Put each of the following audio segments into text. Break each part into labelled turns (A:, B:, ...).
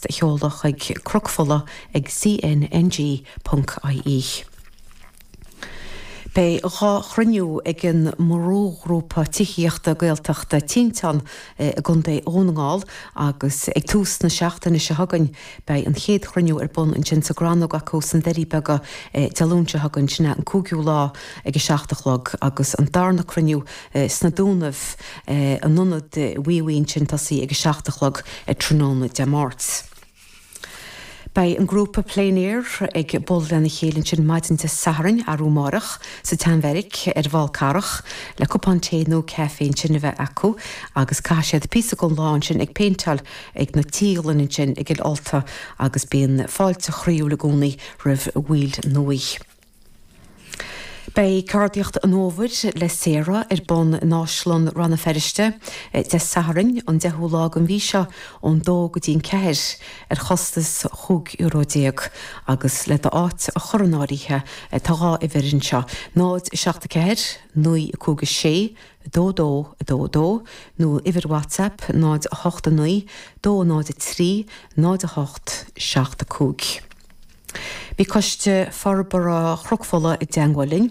A: ríomhphost a sheoladh chuig cnocfola ag cnng ponc ie. Beidh 2 chruinniú ag an mbrúghrúpa tithíochta Gaeltachta Tinteán i gContae Dhún na nGall agus ag tús na seachtaine seo chugainn beidh an chéad chruinniú ar bun ansin sa gCrannóg acu sna Doirí Beaga Dé Luain seo chugainn, sin é an 5ú lá ag a 7 a chlog agus an darna cruinniú sna Dúnaibh in Ionad Mhíobhaigh ansin tosaí ag a 7 a chlog tráthnóna Dé Máirt. Beidh an grúpa Plein Air ag bualadh lena chéile ansin maidin Dé Sathairn, arú amárach, sa tSeanbheairic ar an bhFál Carrach le cupán tae nó caife ansin a bheith acu agus caithfidh siad píosa den lá ansin ag péinteáil ag na tíleanna ansin i gCill Ulta agus bíonn fáilte chroíúil i gcónaí roimh bhaill nua. Beidh Ceardaíocht an Fhómhair le Sarah ar bun in Áislann Rann na Feirste Dé Sathairn an 10ú lá den mhí seo ón 2 go dtí an 4 ar chostas €15 euro agus le d'áit a chur in áirithe tá 2 uimhir anseo, 0 7 4 9 5 6 2 2 2 2 nó uimhir WhatsApp 0 8 9 2 0 3 0 8 7 5. Bhí Coiste Forbartha Chnoc Fola i dteangmháil linn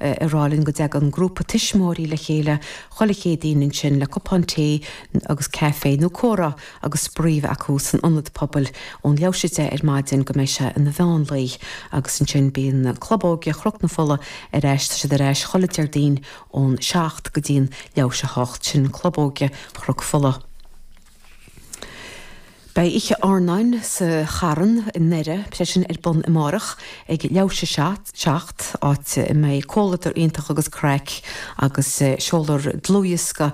A: ag rá linn go dtagann grúpa tuismitheoirí le chéile chuile Chéadaoin ansin le cupán tae agus caife nó comhrá agus spraoi a bheith acu san ionad pobail ón leathuair théis 10 ar maidin go mbeidh sé ina mheán lae agus ansin bíonn Club Óige Chnoc na Fola ar ais, tá siad ar ais chuile Déardaoin ón 7 go dtí an leathuair théis 8, sin Club Óige Chnoc Fola. Beidh Oíche Airneáin sa Charn i nDoire, sé sin ar bun amárach ag leathuair théis a 7, áit a mbeidh comhluadar iontach agus craic agus seolfar dlúthdhiosca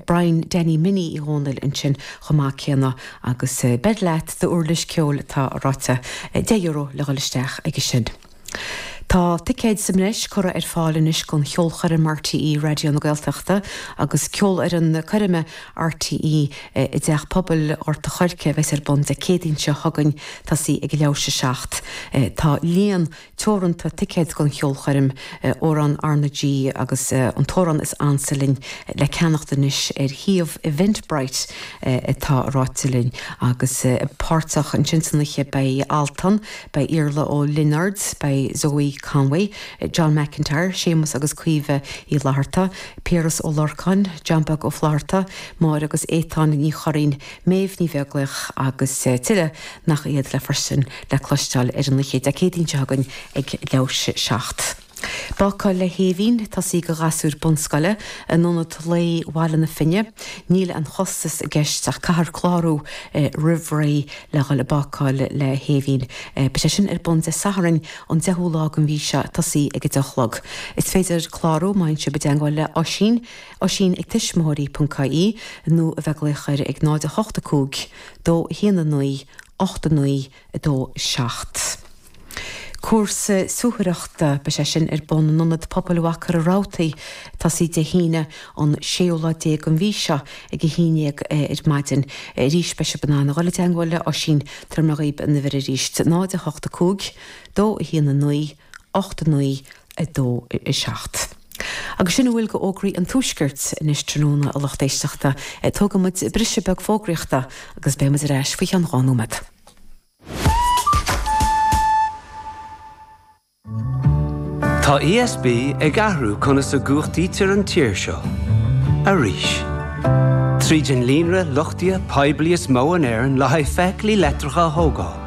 A: Brian Danny Minnie Uí Dhónaill ansin chomh maith céanna agus beir leat d'uirlis ceoil atá ráite, €10 le dhul isteach aige sin. Tá ticéid sa mbreis curtha ar fáil anois don cheolchoirm RTÉ Raidió na Gaeltachta agus Ceolfhoireann Coirme RTÉ i dTeach Pobail Ghort a' Choirce a bheas ar bun Dé Céadaoin seo chugainn, tosaí ag a leathuair théis a 7. Tá líon teoranta ticéad don cheolchoirm, Amhrán R na G agus An tAmhrán is Ansa Linn le ceannacht anois ar shuíomh Eventbrite atá ráite linn agus páirteach ansin san oíche beidh Altan, Beidh Iarla Ó Lionáird, beidh Zoe Conway, John McIntyre, Séamus agus Caoimhe Uí Fhlatharta, Piaras Ó Lorcáin, John Beag Ó Flatharta, Máire agus Étáin Ní Churraoin, Méabh Ní Bheaglaoich agus tuilleadh nach iad le feiscint le cloisteáil ar an oíche Dé Céadaoin seo chugainn ag leathuair théis a 7. Bácáil le hAoibhinn, tosaí do ghasúir bunscoile, in Ionad Lae Bhaile na Finne. Níl aon chostas i gceist ach caithfear clárú roimh ré le dhul ag bácáil le hAoibhinn. Beidh sé sin ar bun Dé Sathairn an 10ú lá den mhí seo, tosaí ag a 10 a chlog. Is féidir clárú má théann sibh i dteangmháil le Oisín, oisín ag tuismitheoirí.ie nó a bheith ag glaoch air ag 0 8 5 2 1 9 8 9 2 7. Cúrsa suathaireachta, beidh sé sin ar bun in Ionad Pobail Mhachaire Rabhartaigh, tosaí Dé hAoine an séú lá déag den mhí seo ag a haon dhéag ar maidin. Arís beidh sibh in ann a dhul i dteangmháil le Oisín, tabharfaidh mé dhaoib an uimhir arís, 0 8 5 2 1 9 8 9 2 7. Agus sin a bhfuil de fhógraí an Tuaiscirt anois tráthnóna a lucht éisteachta. Tógfaidh muid briseadh beag fógraíochta agus beidh muid ar ais faoi cheann 2 nóiméad.
B: Tá ESB ag athrú conas a gcumhachtaítear an tír seo. Arís. Tríd an líonra luchtaithe poiblí is mó in Éirinn le haghaidh feithiclí leictreacha a thógáil.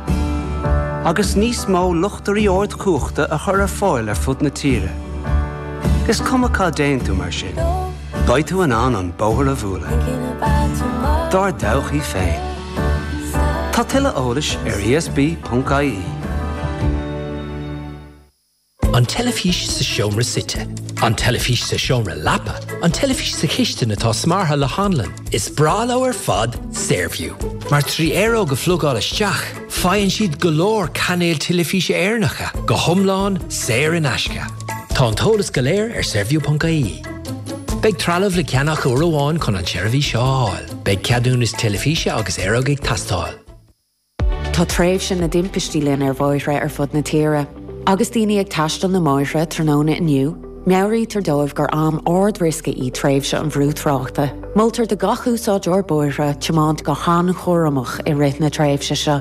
B: Agus níos mó luchtairí ardchumhachta a chur ar fáil ar fud na tíre. Is cuma cá dtéann tú mar sin, beidh tú in ann an bóthar a bhualadh. Dár dtodhchaí féin. Tá tuilleadh eolais ar esb.ie.
C: An teilifís sa seomra suite. An teilifís sa seomra leapa. An teilifís sa chistin atá smeartha le hanlann. Is breá leo ar fad Saorview. Mar trí aeróg a phlugáil isteach, faigheann siad go leor cainéil teilifíse Éireannacha go hiomlán saor in aisce. Tá an t-eolas go léir ar saorview.ie. Beidh trealamh le ceannach uair amháin chun an tseirbhís seo a fháil. Beidh ceadúnas teilifíse agus aeróg ag teastáil.
D: Tá tréimhse na dtimpistí linn ar bhóithre ar fud na tíre. Agus daoine ag taisteal na mbóithre tráthnóna inniu, meabhraítear dóibh gur am ard-riosca í tréimhse an bhrú tráchta. Moltar do gach úsáideoir bóithre tiomáint go han-chúramach i rith na tréimhse seo.